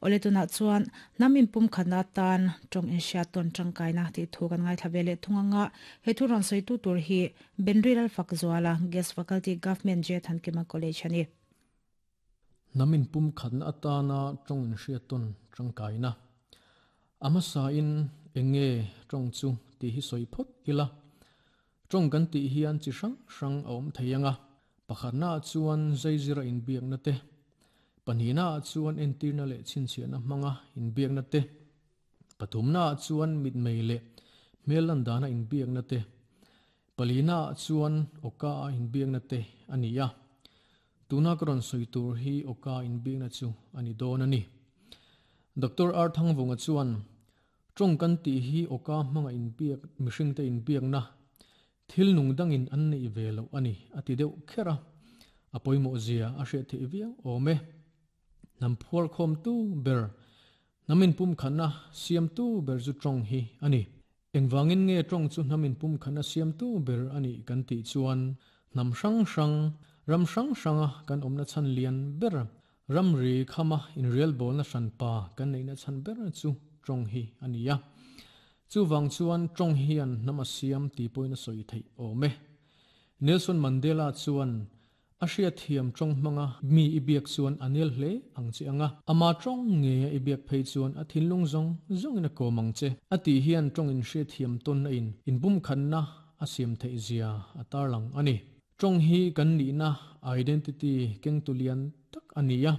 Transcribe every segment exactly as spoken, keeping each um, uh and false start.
Ole tuna chuan namin pum khana tan tong in sha ton tangkai na ti thu kan ngai thabele thunganga he thu ron soi tu tur hi Benrilal Fakzuala guest faculty Government J Thankima College ani. Namin pum khatna atana tong in hria ton tangkai na ama sa in enge tong chu ti hi soi phot ila tong kan ti hian chi hrang hrang awm theianga pakhatna chuan zaizira in biak na te panina chuan entirna le chinchiana hmanga in biak na te pathumna chuan mit mei le melan dana in biak na te palina chuan oka in biak na te ania tuna karon soi tur hi oka in biak na chu ani don ani. Doctor R Thangvunga chuan tong kan ti hi oka hmanga in biak mihring te in biak na thil nung dangin an nei ve lo ani ati deuh khera apoimo zia a hre the viau ome nam phuar khom tu ber namin pum khana siam tu ber zu tong hi ani engwangin nge tong chu namin pum khana siam tu ber ani kan ti chuan nam hrang hrang ram hrang hranga kan omna chan lian ber ram ri khama in real bol na hran pa kan nei na chan ber chu tong hi ania chu wang chuan tong hian nama siam ti poina soi thei ome. Nelson Mandela chuan a thiam tong manga mi ibiak chuan anel hle ang chi anga ama tong nge ibiak phei chuan a thinlung zong zong in a komang che ati hian tong in hria thiam ton na in in bum khan na a siam thei zia atar lang ani. Tong hi kan ni na identity keng tulian tak ania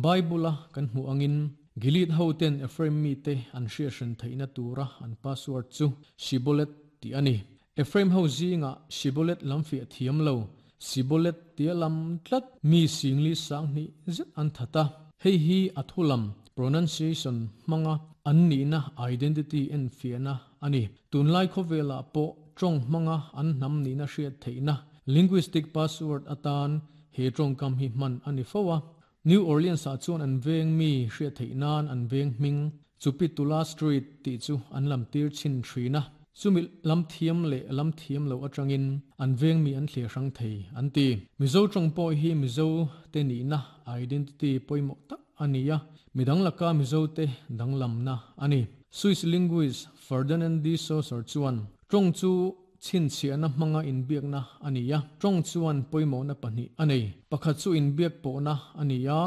Bible kan hmu angin Gilead hoten Ephraim mi te an hria hran theina tura an password chu Shibolet ti ani. Ephraim ho zinga Shibolet lamfi thiam lo Sibolet tia lam tlat mi singli sang ni zet an thata hei hi athulam pronunciation manga an ni na identity en fiana ani. Tunlai khovela po tong manga an nam ni na hriat theina linguistic password atan he tong kam hi man ani fowa. New Orleans a chuan an veng mi hriat theinan an veng hming Chupitula Street ti chu an lam tir chin thrina chumi lam thiam le lam thiam lo atangin an veng mi an thle hrang thei an ti. Mizo tong po hi Mizo te ni na identity poimo tak ania midang laka Mizo te danglam na ani. Swiss linguist Ferdinand de Saussure chuan tong chu chin chiana hmanga in biak na ania tong chuan poimo na pani anei pakhat chu in biak po na ania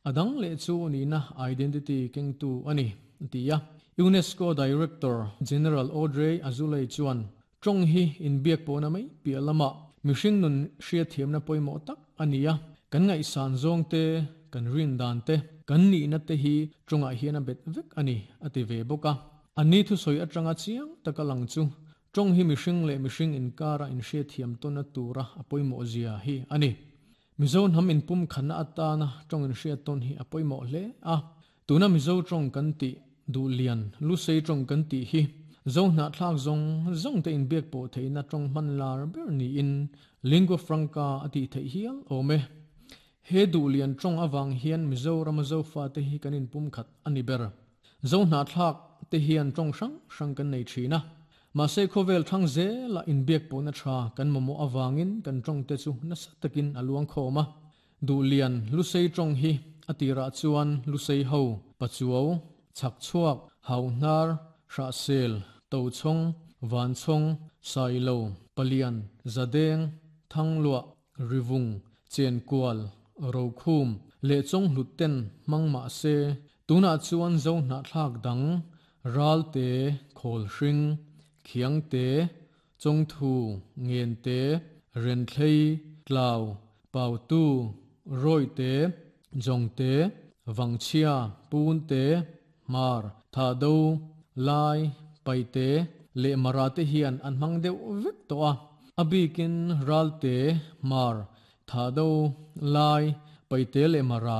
adang le chu ni na identity keng tu ani tia. UNESCO Director General Audrey Azoulay chuan tong hi in biak po na mai pi lama mihring nun hria thiam na poimo tak ania kan ngai san zong te kan rin dan te kan ni na te hi tonga hian a bet vek ani ati ve boka ani thu soi atanga chiang takalang chu tong hi mihring le mihring in kara in hria thiam ton na tura apoimo zia hi ani. Mizo nam in pum khana atana tong in hria ton hi apoimo hle a tuna Mizo tong kan ti du lian lu sei tong kan ti hi zo na thlak zong zong te in biak po theina tong man lar ber ni in lingua franca ati thei hial ome he du lian tong awang hian Mizoram zo fa te hi kanin pum khat ani ber zo na thlak te hian tong hrang hrang kan nei thina ma se khovel thang ze la in biak po na tha kan momo awangin kan tong te chu na satakin aluang khoma du lian lu sei tong hi atira chuan lu sei ho pachuo chak chuak haunar hra sel to chong van chong sailo palian zadeng thanglua rivung chen kwal rokhum le chong hluten mangma se tuna chuan zo na thlak dang ral te khol hring khiang te chong thu ngen te ren thlei tlaw pau tu roi te jong te wangchia pun te mar tha do lai pai te le mara te hian an mang deuh vek to a abikin ral te mar tha do lai pai te le mara